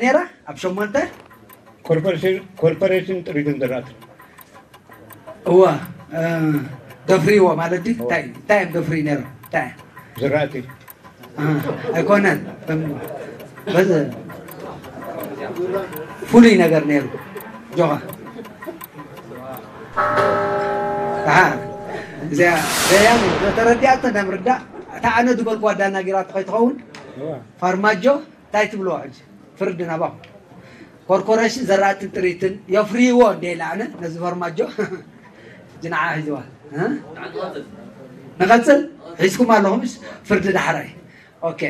ነይራ ኣብ ሸሞንተ ኮርፖሬሽን ጥሪትን ዘራእትን እዋ ደፍሪዎ ማለት እዩ። እንታይ እንታይ እዮም ደፍሪ ነይሮም? እንታይ ዘራእቲ ኣይኮነን። በዚ ፍሉይ ነገር ነይሩ። ጆኻ ኣሃ እዚኣ ዘያኑ ተረዲኣቶ እንዳምርዳእ እታ ኣነ ዝበልኩዋ ዳና ጌራቶ ከይትኸውን ፋርማጆ እንታይ ትብልዋ ሕጂ ፍርዲ ናባኹም ኮርኮሬሽን ዘራእትን ጥሪትን የፍርይዎ እንደ ኢለ ኣነ ነዚ ፈርማጆ ሕጂ ንዓ ሒዝዋ ንቐፅል ሒዝኩም ኣለኹም ፍርዲ ዳሕራይ ኦኬ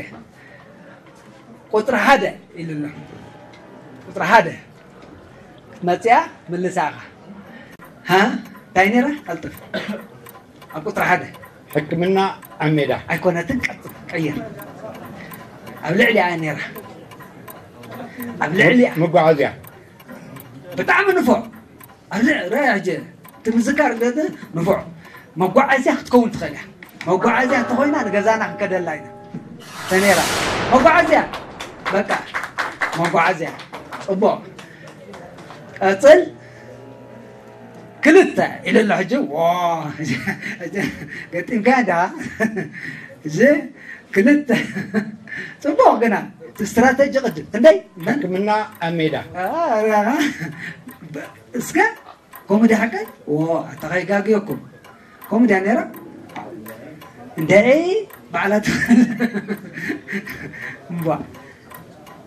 ቁፅሪ ሓደ ኢሉ ኣሎ ቁፅሪ ሓደ ክትመፅያ ምልሳኻ እንታይ ነይራ ቀልጥፍ ኣብ ቁፅሪ ሓደ ሕክምና ኣብ ሜዳ ኣይኮነትን ቀጥል ቀይር ኣብ ልዕሊ እያ ነይራ ኣብ ልዕሊ እያ መጓዓዝያ ብጣዕሚ ንፉዕ ኣብ ልዕሊ ሕጂ እቲ ምዝካር ንፉዕ መጓዓዝያ ክትከውን ትኽእል እያ መጓዓዝያ እንተኾይና ንገዛና ክንከደላ ኢና ተነይራ መጓዓዝያ በቃ መጓዓዝያ ፅቡቕ ቀፅል ክልተ ኢለ ኣሎ ሕጂ ገጢምካ ዳ እዚ ክልተ ፅቡቅ ግና እቲ ስትራተጂ ቅድም ክንደይ ሕክምና ኣብ ሜዳ እስከ ከምኡ ድያ ሓቀይ ኣታ ከይጋግየኩም ከምኡ ድያ ነይራ እንደ ባዕላ ትኽእል እምቧ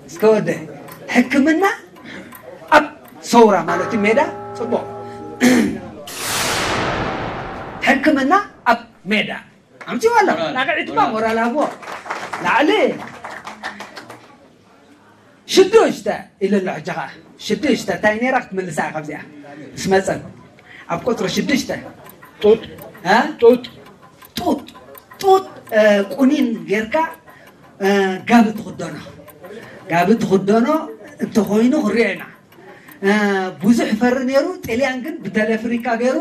እስከ ወደ ሕክምና ኣብ ሰውራ ማለት እዩ ሜዳ ፅቡቅ ሕክምና ኣብ ሜዳ ኣምፅዋ ኣለኹ ላቅዒትባ ሞራል ሃብዎ ላዕሊ ሽዱሽተ ኢለ ኣሎ ሕጂ ከዓ ሽዱሽተ እንታይ ነይራ ክትምልሳ እያ ካብዚኣ ምስ መፀን ኣብ ቁፅሪ ሽዱሽተ ጡጥ እ? ጡጥ ጡጥ ጡጥ እ፣ ቁኒን ጌርካ እ፣ ጋቢ ትኽደኖ ጋቢ ትኽደኖ እንተኾይኑ ክሪኦ ኢና እ፣ ብዙሕ ፈሪ ነይሩ ጥልያን ግን ብተለፍሪካ ገይሩ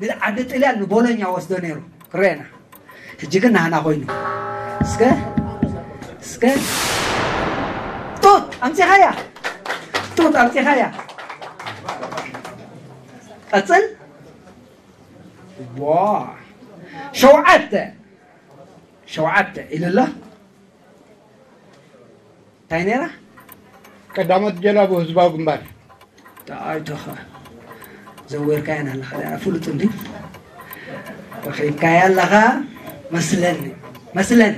ንዓዲ ጥልያን ንቦሎኛ ወስዶ ነይሩ ክሪኦ ኢና ሕጂ ግን ናህና ኮይኑ እስከ እስከ ጡጥ ኣምፂኻያ ጡጥ ኣምፂኻያ ቀፅል ዋ ሸውዓተ ሸውዓተ ኢሉ ኣሎ እንታይ ነይራ ቀዳሞት ጀላቡ ህዝባዊ ግንባር ኣይቶኸ ዘወርካያን ኣለኻ ፍሉጥ እንዲ ረኺብካያ ኣለኻ መስለኒ መስለኒ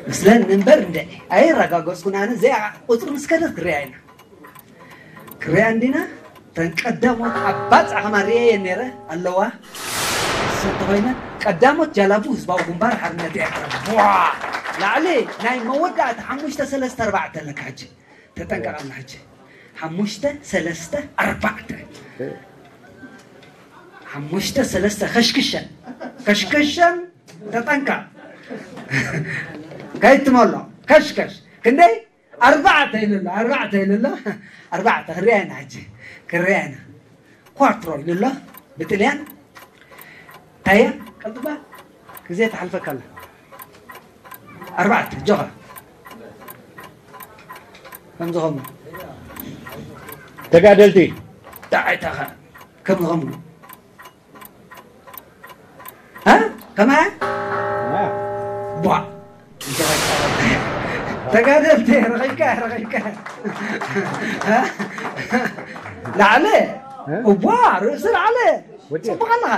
መስለኒ እምበር እንደ ኣይረጋገፅኩን ኣነ እዚኣ ቁፅሪ ምስ ከደት ክሪኣ ኢና ክሪኣ እንዲና ተን ቀዳሞት ኣብ ባፅዕ ከማ ርእየየን ነይረ ኣለዋ እሱ እንተኮይነ ቀዳሞት ጃላቡ ህዝባዊ ግንባር ሓርነት ኤርትራ ዋ ላዕሊ ናይ መወዳእታ ሓሙሽተ ሰለስተ ኣርባዕተ ኣለካ ሕጂ ተጠንቀቕ ኣላ ሕጂ ሓሙሽተ ሰለስተ ኣርባዕተ ሓሙሽተ ሰለስተ ከሽክሸን ከሽክሸን ተጠንቀቕ ከይትመሎ ከሽከሽ ክንደይ ኣርባዕተ ኢሉ ኣሎ ኣርባዕተ ኢሉ ኣሎ ኣርባዕተ ክሪኣ ኢና ሕጂ ክሪኣ ኢና ኳትሮ ኢሉ ኣሎ ብጥልያን ታየ ቀልጥባ ግዜ ተሓልፈካ ኣላ ኣርባዕተ ጆኻ ከምዚ ኸሙ ተጋደልቲ ዳዓይታኻ ከምዚ ኸሙ ها؟ كمان؟ ها؟ ቧ ተጋደልቲ ረኺብካ ረኺብካ ላዕለ እቧ ርእሲ ላዕለ ጽቡቕ ኣለኻ